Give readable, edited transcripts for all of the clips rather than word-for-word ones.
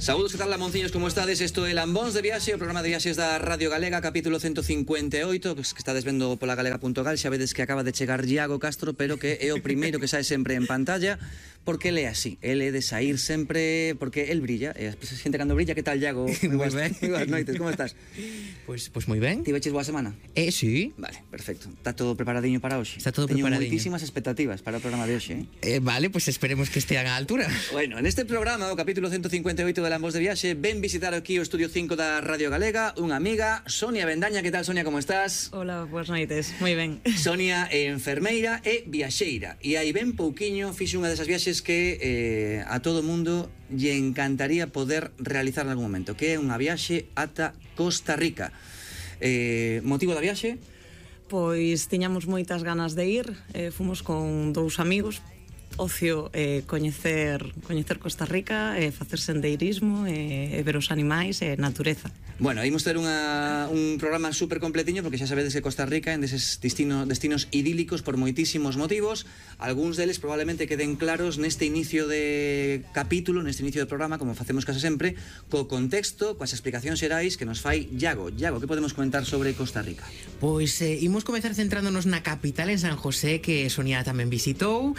Saúdos, que tal, lamonciños, como estades? Isto é Lambóns de Viaxe, o programa de viaxes da Radio Galega, capítulo 158, que estades vendo pola galega.gal. Xa vedes que acaba de chegar Iago Castro, pero que é o primeiro que sae sempre en pantalla, porque ele é así, ele é de sair sempre, porque el brilla, e a xente cando brilla. Que tal, Iago? Moi ben. Moi boas noites, como estás? Pois moi ben. Ti veches boa semana? Sí. Vale, perfecto. Está todo preparadiño para hoxe? Está todo Teño preparadiño. moitísimas expectativas para o programa de hoxe, Vale, pues esperemos que estean á altura. Bueno, en este programa, o capítulo 158 de Lambóns de Viaxe, ven visitar aquí o Estudio 5 da Radio Galega unha amiga, Sonia Bendaña. Que tal, Sonia, como estás? Hola, boas noites, moi ben. Sonia é enfermeira e viaxeira, e aí ben pouquiño fixe unha desas viaxes que a todo mundo lle encantaría poder realizar en algún momento, que é unha viaxe ata Costa Rica. Motivo da viaxe? Pois tiñamos moitas ganas de ir, fomos con dous amigos, ocio, coñecer Costa Rica, facer sendeirismo, ver os animais e natureza. Bueno, imos ter un programa super completiño, porque xa sabedes que Costa Rica é en deses destinos idílicos por moitísimos motivos. Algúns deles probablemente queden claros neste inicio de capítulo, neste inicio de programa, como facemos case sempre, co contexto, coas explicacións xerais que nos fai Iago. Iago, que podemos comentar sobre Costa Rica? Pois imos comezar centrándonos na capital, en San José, que Sonia tamén visitou.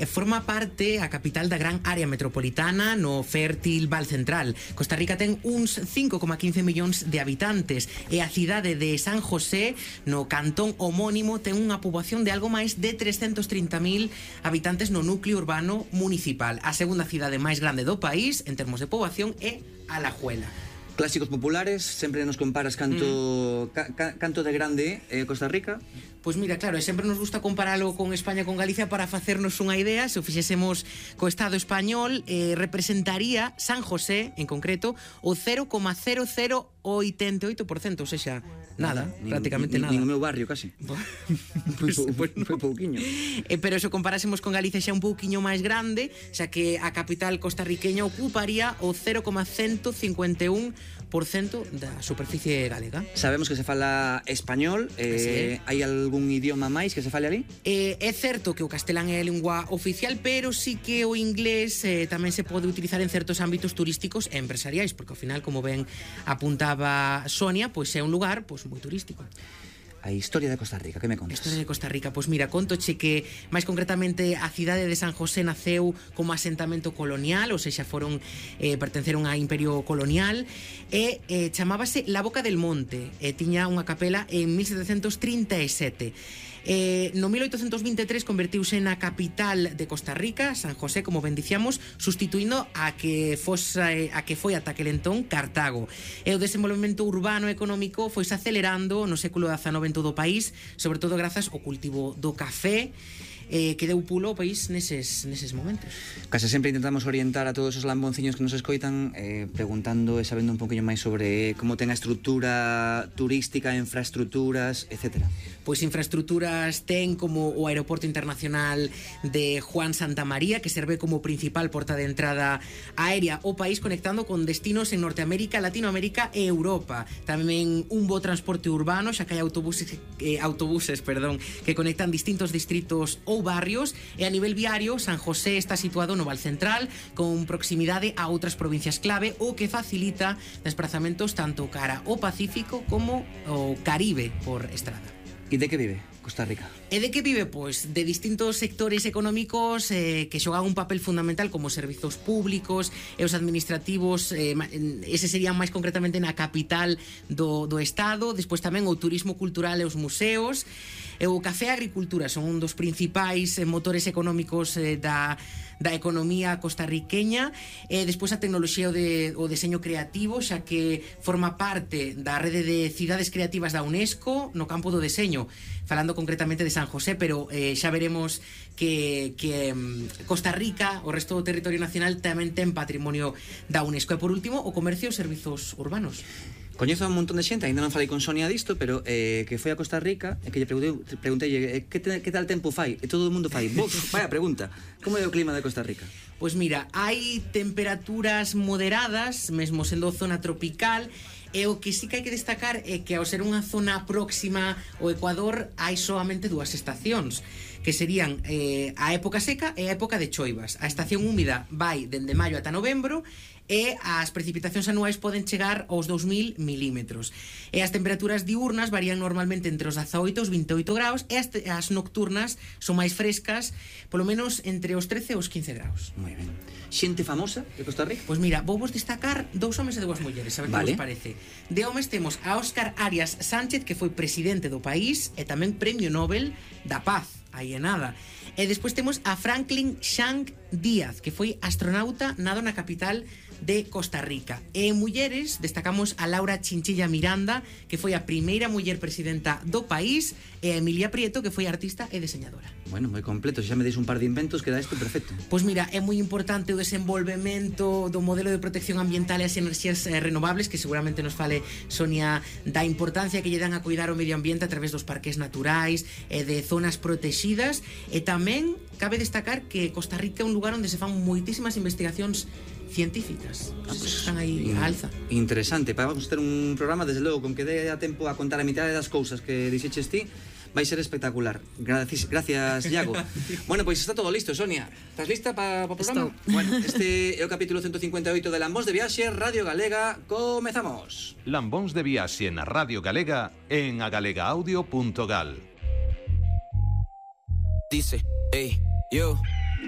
Forma parte a capital da gran área metropolitana no fértil Val Central. Costa Rica ten uns 5,15 millóns de habitantes e a cidade de San José, no cantón homónimo, ten unha poboación de algo máis de 330.000 habitantes no núcleo urbano municipal. A segunda cidade máis grande do país en termos de poboación é Alajuela. Clásicos populares, sempre nos comparas canto de grande Costa Rica. Pois mira, claro, sempre nos gusta comparalo con España e con Galicia para facernos unha idea. Se o fixésemos co Estado español, representaría San José, en concreto, o 0,0088%, ou sexa, nada, prácticamente nada. Nin o meu barrio, casi. Foi pouquiño. Pero se o comparásemos con Galicia xa un pouquiño máis grande, xa que a capital costarriqueña ocuparía o 0,151% da superficie galega. Sabemos que se fala español, hai algún idioma máis que se fale ali? É certo que o castelán é a lingua oficial, pero sí que o inglés tamén se pode utilizar en certos ámbitos turísticos e empresariais, porque ao final, como ben apuntaba Sonia, pois é un lugar pois moi turístico. A historia de Costa Rica, que me contas? A historia de Costa Rica, pois mira, contoche que máis concretamente a cidade de San José naceu como asentamento colonial, ou seja, pertenceron a imperio colonial, e chamábase La Boca del Monte, e tiña unha capela en 1737. No 1823 convertiuse na capital de Costa Rica, San José, como ben dicíamos, sustituindo a que foi ata aquel entón Cartago. E o desenvolvemento urbano e económico foise acelerando no século XIX en todo o país, sobre todo grazas ao cultivo do café, que deu pulo ao país neses momentos. Case sempre intentamos orientar a todos os lambonciños que nos escoitan preguntando e sabendo un poquinho máis sobre como ten a estrutura turística, infraestructuras, etcétera. Pois infraestructuras ten como o aeroporto internacional de Juan Santamaría, que serve como principal porta de entrada aérea ao país, conectando con destinos en Norteamérica, Latinoamérica e Europa. Tamén un bo transporte urbano, xa que hai autobuses que conectan distintos distritos ou barrios, e a nivel viario San José está situado no Val Central, con proximidade a outras provincias clave, o que facilita desplazamentos tanto cara ao Pacífico como ao Caribe por estrada. E de que vive Costa Rica? E de que vive? Pois de distintos sectores económicos que xogan un papel fundamental, como os servizos públicos e os administrativos, ese serían máis concretamente na capital do Estado. Despois tamén o turismo cultural e os museos, e o café e a agricultura son un dos principais motores económicos da economía costarriqueña. Despois a tecnoloxía e o deseño creativo, xa que forma parte da rede de cidades creativas da UNESCO no campo do deseño, falando concretamente de San José, pero xa veremos que Costa Rica, o resto do territorio nacional, tamén ten patrimonio da UNESCO. E por último, o comercio e os servizos urbanos. Coñezo a un montón de xente, ainda non falei con Sonia disto, pero que foi a Costa Rica e que lle preguntei que tal tempo fai, e todo o mundo fai vaya pregunta, como é o clima de Costa Rica? Pois mira, hai temperaturas moderadas, mesmo sendo zona tropical, e o que sí que hai que destacar é que ao ser unha zona próxima ao Ecuador hai soamente 2 estacións, que serían a época seca e a época de choivas. A estación húmida vai dende maio ata novembro, e as precipitacións anuais poden chegar aos 2000 milímetros. E as temperaturas diurnas varían normalmente entre os 18 e os 28 graus, e as nocturnas son máis frescas, polo menos entre os 13 e os 15 graus. Moi ben. Xente famosa de Costa Rica? Pois mira, vou vos destacar 2 homes e 2 mulleres, a ver que vos parece. De homes temos a Óscar Arias Sánchez, que foi presidente do país e tamén Premio Nobel da Paz, aí é nada. E despois temos a Franklin Shank Díaz, que foi astronauta nado na capital de Costa Rica. E en mulleres destacamos a Laura Chinchilla Miranda, que foi a primeira muller presidenta do país, e a Emilia Prieto, que foi artista e deseñadora. Bueno, moi completo, se xa me deis un par de inventos, queda isto perfecto. Pois mira, é moi importante o desenvolvemento do modelo de protección ambiental e as enerxías renovables, que seguramente nos fale Sonia da importancia que lle dan a cuidar o medio ambiente a través dos parques naturais e de zonas protegidas, e tamén cabe destacar que Costa Rica é un lugar onde se fan moitísimas investigacións científicas. Pues están aí a alza. Interesante, vamos ter un programa desde logo con que dé a tempo a contar a mitad das cousas que dixeches ti. Vai ser espectacular. Gracias, Iago. Bueno, pois está todo listo, Sonia. Estás lista para o programa? Estou. Bueno, este é o capítulo 158 de Lambóns de Viaxe, Radio Galega. Comezamos. Lambóns de Viaxe na Radio Galega en agalegaaudio.gal. Dice, hey, yo.